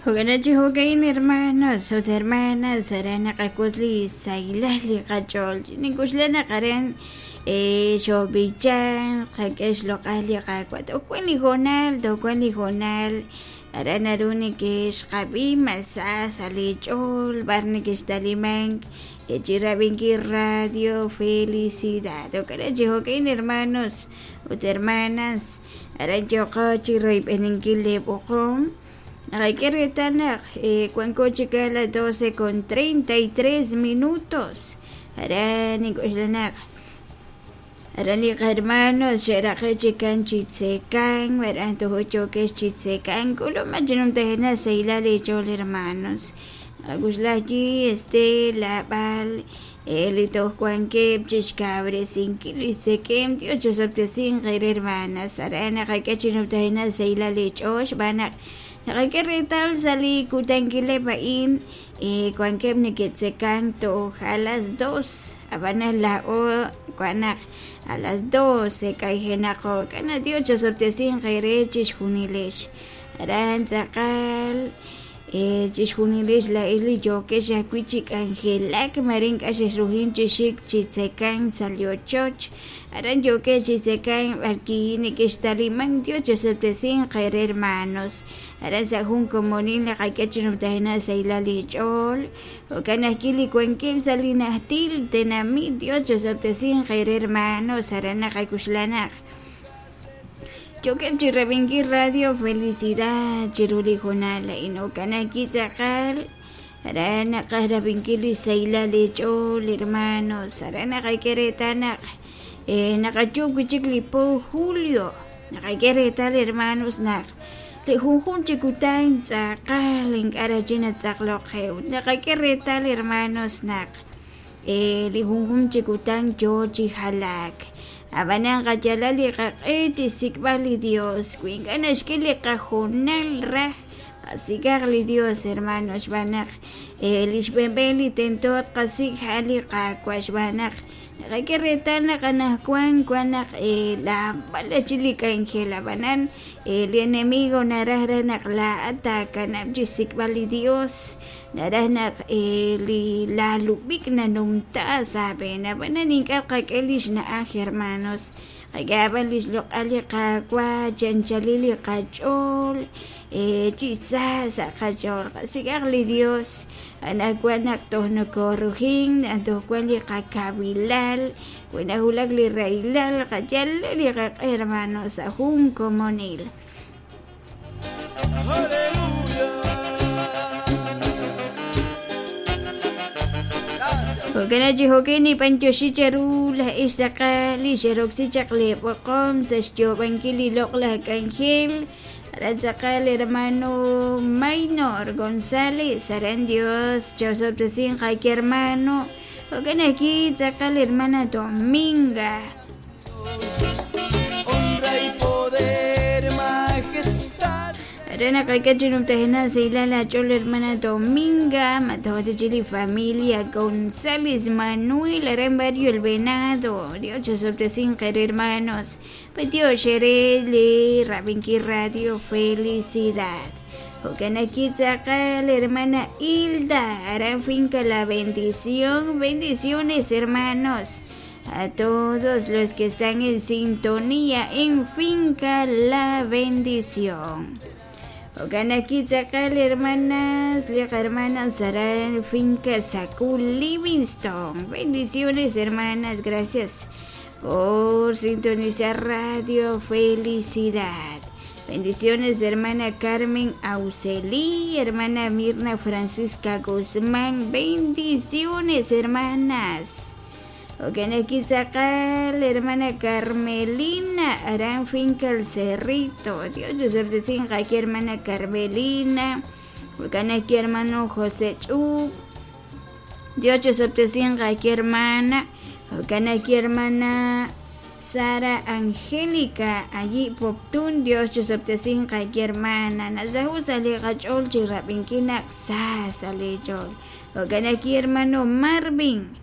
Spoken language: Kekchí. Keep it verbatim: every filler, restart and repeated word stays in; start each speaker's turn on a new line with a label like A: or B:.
A: Jo'kan chi jo'ka'in hermanos ut hermanas aran naqak'ut li sahilal li qach'ool nink'uxla naq aran xoob'ichan qak'e xloq'al li Qaawa' toj wan li hoonal toj wan li hoonal aran naru nekexqab'i mas sa sa' li ch'ool b'ar nekextalimank chi rab'inkil Radio Felicidad. Jo'kan chi jo'ka'in hermanos ut hermanas aran yooqo chi royb'eninkil li b'oqom naqak'e reetal naq wanko chik a las doce con treinta y tres minutos aran nink'uxla naq aran li hermanos xe'raqe' chikan chi tzekan aran toj yookex chi tzekan k'uluma chinumtajena sahilal li ch'ool hermanos naqak'uxla allí este lab'al li toj wankeb' chixkawresinkil li sekem Dios chosob'tesinq qere hermanas aran naqak'e chinumtajena sahilal li ch'ool xb'aan naq naqak'e reetal sa' li kutankileb' a'in wankeb' neke'tzekan toj a las dos ab'anan la'o wan naq a las doce k'ayjenaqo k'ana Dios chosob'tesinq qere chixjunilex aran tz'aqal chixjunilex la'ix li yookex ajwi' chi k'anjelak marin k'a xexrujin chi xik chi tzekan sa' li ochoch aran yookex chi tzekan b'arki nekextaliman Dios chosob'tesinq qere hermanos aran sa' jun komonil naqak'e chinumtajena sahilal li ch'ool jo'kan ajwi' li wankeb' sa' li najtil tenamit Dios chosob'tesinq qere hermanos aran naqak'uxla naq yokeb' chi rab'inkil Radio Felicidad chiru li hoonal a'in jo'kan ajwi' tz'aqal aran naqaj rab'inkil li sahilal li ch'ool hermanos aran naqak'e reetal naq naqayuub' wi' chik li po julio naqak'e reetal hermanos naq li junjun chi kutan tz'aqal ink'a' rach'i natz'aqloqej naqak'e reetal hermanos naq li junjun chi kutan yoo chi jalaak ab'anan qayalal li qaq'e chi sik'b'al li Dios wi ink'a' naxk'e li qajoonal raj qasik'aq li Dios hermanos xb'aan naq li xb'enb'en li tento qasik' ja'al li Qaawa' xb'aan naq naqak'e reetal naq anajwan wan naq laab'al chi li k'anjel ab'anan li enemigo naraj raj naq laa'at taakanab' chi sik'b'al li Dios naraj naq li laalub'ik nanumta sa' aab'een ab'anan ink'a' qak'e li xna'aj hermanos qak'e ab'an li xloq'al li Qaawa' chanchalil li qach'ool chi sa sa' qach'ool qasik'aq li Dios anajwan naq toj nokorujin toj wan li qakawilal wi najulak li rahilal qayal li qaq'e hermanos sa' jun komonil. Jo'kan chi jo'kan nib'antioxi cheru la'ix tz'aqal li xeroksi chaq li b'oqom sa' xyoob'ankil li loq'laj k'anjel aran tz'aqal hermano Maynor González aran Dios chosob'tesinq qaki hermano jo'kan ajwi' tz'aqal hermana Dominga.
B: Honra y poder, majestad.
A: Aran naqak'e chinumtajena sahilal ach'ool hermana Dominga matawatichi li familia González Manuel aran barrio El Venado Dios chosob'tesinq qere hermanos Dios xere li rab'inkil Radio Felicidad. Jo'kan ajwi' tz'aqal hermana Hilda aran finca La Bendición. Bendiciones hermanos a todos los que están en sintonía en Finca La Bendición. Jo'kan ajwi' tz'aqal hermanas li hermanas aran finca Sacul Livingston. Bendiciones hermanas, gracias por sintonizar Radio Felicidad. Bendiciones hermana Carmen Aucelí, hermana Mirna Francisca Guzmán. Bendiciones hermanas. Jo'kan ajwi' tz'aqal hermana Carmelina aran finca El Cerrito. Dios chosob'tesinq aki hermana Carmelina. Jo'kan ajwi' hermano José Ch'ub. Dios chosob'tesinq aki hermana. Jo'kan ajwi' hermana Sara Angélica allí Poptún. Dios chosob'tesinq aki hermana nasahu sa' li qach'ool chi rab'inkil naq sa sa' li ch'ool. Jo'kan ajwi' hermano Marvin